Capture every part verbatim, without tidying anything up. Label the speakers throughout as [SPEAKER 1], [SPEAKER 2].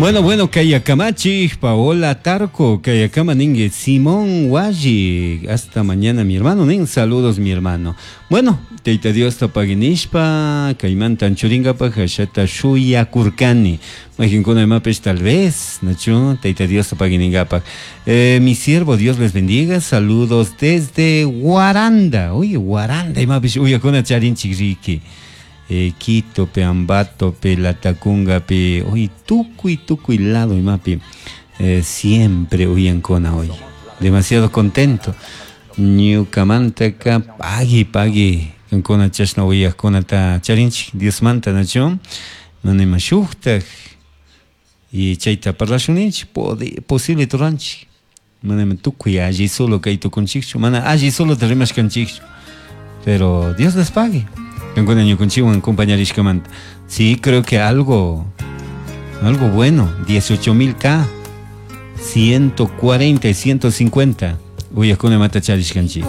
[SPEAKER 1] Bueno, bueno, Kayakamachi, Paola Tarco, Kayakama Ningue, Simón Waji. Hasta mañana, mi hermano. Nin, saludos, mi hermano. Bueno, Tayta Diosta pagui nishpa, kaymanta anchuringapaj, ashata shuyakurkani. Mayqinkuna imapish tal vez, nachu, Tayta Diosta pagui ningapaj. Eh, mi siervo, Dios les bendiga. Saludos desde Guaranda. Oye, Guaranda, imapish uyakuna charinchik riki. Eh, Quito, pe Ambato, pe Latacunga, pe oye, tukuy, tukuy lado imapi eh, siempre uyankuna hoy. Demasiado contento. Ñukamantaka pagui, pagui. Kankuna chashna uyakkunata charinchik Diosmanta nachu. Mana ima shuktak y chayta parlashun ninchik posible turanchik. Mana ima tukuy alli solo kay tukunchikchu, mana alli solo rimashkanchikchu. Pero Dios les pague. Kankuna ñukanchikwan compañarishkamanta. Sí, creo que algo, algo bueno. dieciocho mil K, ciento cuarenta y ciento cincuenta. Uyakuna imata charishkanchik.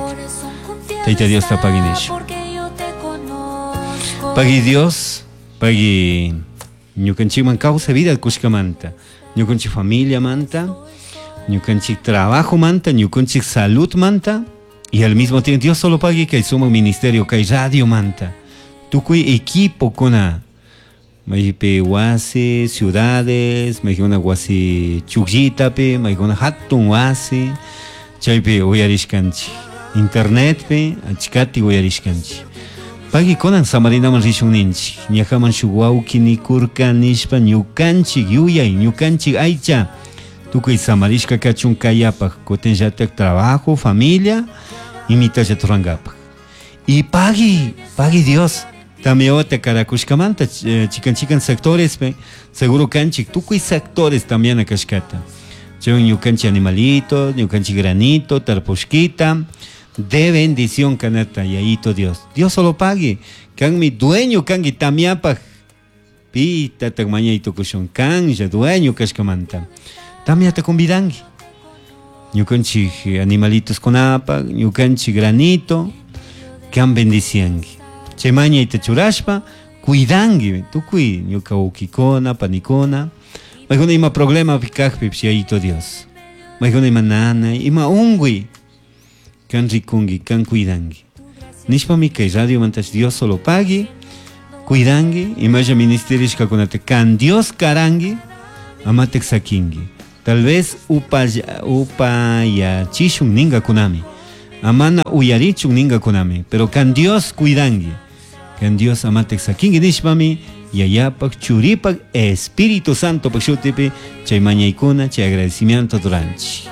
[SPEAKER 1] Tayta Diosta pagui nish. Pagui Dios, pagui ñukanchikman kawsay vida kushkamanta, ñukanchik familia manta, ñukanchik trabajo manta, ñukanchik salud manta, y al mismo tiempo Dios solo pagui kay sumak ministerio, kay radio manta. Tukuy equipo kuna maypi wasi, ciudades, maykuna wasi chukllitapi, maykuna hatun wasi, chaypi uyarishkanchik. Internetpi achkati uyarishkanchik. Pagui kunan samarinaman rishun ninchik. Ñajaman shuk wawki nikurka nishpa ñukanchik yuyay, ñukanchik aycha. Tukuy samarishka kachun kayapaj, kutinllatak trabajo, familia, imitalla turangapak. Y pagui, pagui Dios. También karakushkamanta, eh, chikan chikan sectores, pe, seguro kanchik, tukuy sectores también akashkata. Chaywan ñukanchik animalito, ñukanchik granito, tarpushkita, de bendición kanata, yayito Dios. Dios solo pague. Kan mi dueño kangi tamiapaj. Pita tak mañayto kushun kan ya dueño kashkamanta. Tamiata convidangi. Ñukanchik animalitos kunapa, ñukanchik granito, kan bendiciangi. Chemaña y churashpa, cuidangi, tukuy, ñuka ukikona, panikona. Maykuna ima problema pikajpi, yayito Dios. Maykuna ima nana, ima ungui. Kan rikungi, kan cuidangi. Nishpami kay radio mantas Dios solo pagui, cuidangi, imaya ministerishkakunata kan Dios karangi, amatek sakingi. Tal vez upaya, upayachishun ningakunami. Amana uyarichun ningakunami, pero kan Dios cuidangi. Kan Dios amatek sakingi nishpami, yayapak, churipak, Espíritu Santo pak shutipi, chay mañaykuna, chay agradecimiento duranchi.